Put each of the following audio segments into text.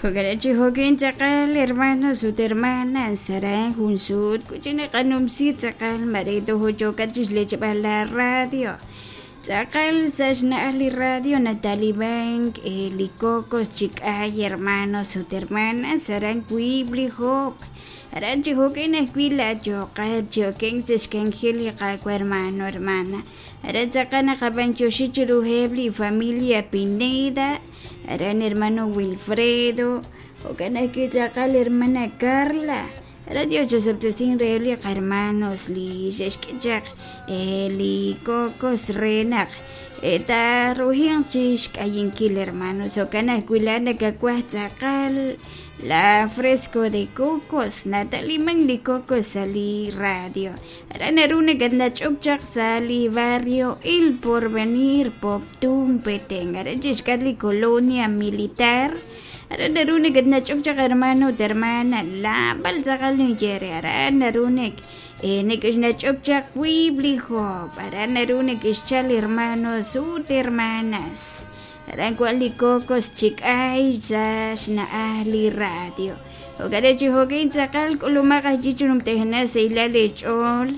Jo'kan chi jo'kin tz'aqal hermanos ut hermanas aran jun sut wi' naqanumsi tz'aqal mare tojo yookat chixlechb'al la radio tz'aqal sa' xna'aj li radio natalibank li cocos chi k'ay hermanos ut hermanas aran wiib' li joob' aran chi jo'kin ajwi' laayooqat chi okenk sa' xk'anjel li Qaawa' hermano hermana aran tz'aqal naqab'antioxi chiruheb' li familia Pineda aran hermano Wilfredo jo'kan ajwi' tz'aqal hermana Carla aran Dios chosob'tesin reheb' li qahermanos li xe'xk'e chaq li cocos re naq taaruhinq chi xk'ayinkil hermanos jo'kan ajwi' laa'at nakawaj tz'aqal la fresco de cocos nataliman li cocos sa' li radio aran naru nakatnach'ok chaq sa' li barrio El Porvenir Poptún Petén aran chixk'atq li colonia militar aran naru nakatnach'ok chaq hermano ut hermana laab'al tz'aqal ninye re aran naru nek neke'xnach'ok chaq wiib' li joob' aran naru neke'xchal hermanos ut hermanas aran wan li cocos chi k'ay sa' xna'aj li radio jo'kan chi jo'kin tz'aqal k'ulumaq ajwi' chi numtejna sahilal eech'ool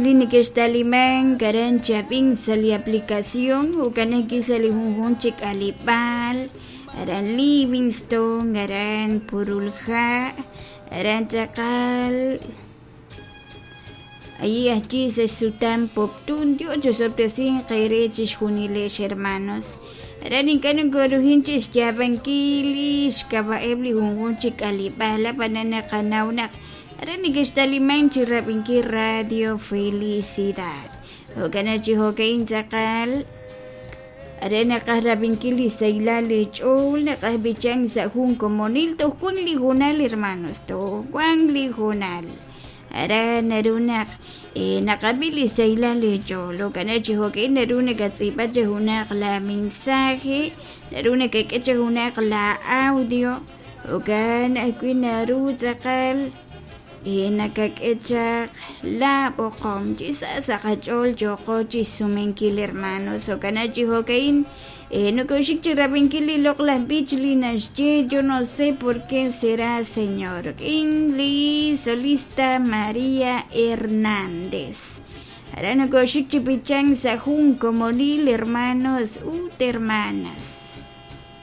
li neke'xtalimank aran chab'in sa' li aplicación jo'kan ajwi' sa' li junjunq chi k'aleb'aal aran Livingston aran Purulha aran tz'aqal Allí ajwi' sa' xsutam Poptún Dios chosob'tesinq eere chixjunilex hermanos aran ink'a' nokoruhin chi xyaab'ankil li xk'ab'a'eb' li junjunq chi k'aleb'aal ab'anan naqanaw naq aran neke'xtalimank chi rab'inkil Radio Felicidad jo'kan chi jo'ka'in tz'aqal are naqaj rab'inkil li sahilal li ch'ool naqaj b'ichank sa' jun komonil toj wan li hoonal hermanos toj wan li hoonal aran naru naq naqab'i li sahilal li ch'ool jo'kan chi jo'ka'in naru nakatz'iib'a chi junaq la mensaje naru nakak'e chi junaq la audio jo'kan ajwi' naru tz'aqal nakak'e chaq la b'oqom chi sa' sa' qach'ool yooqo chi xsumenkil hermanos jo'kan chi jo'ka'in nokoxik chi rab'inkil li loq'laj b'ich li naxye yo no sé por qué será Señor rik'in li solista María Hernández aran nokoxik chi b'ichank sa' jun komonil hermanos ut hermanas.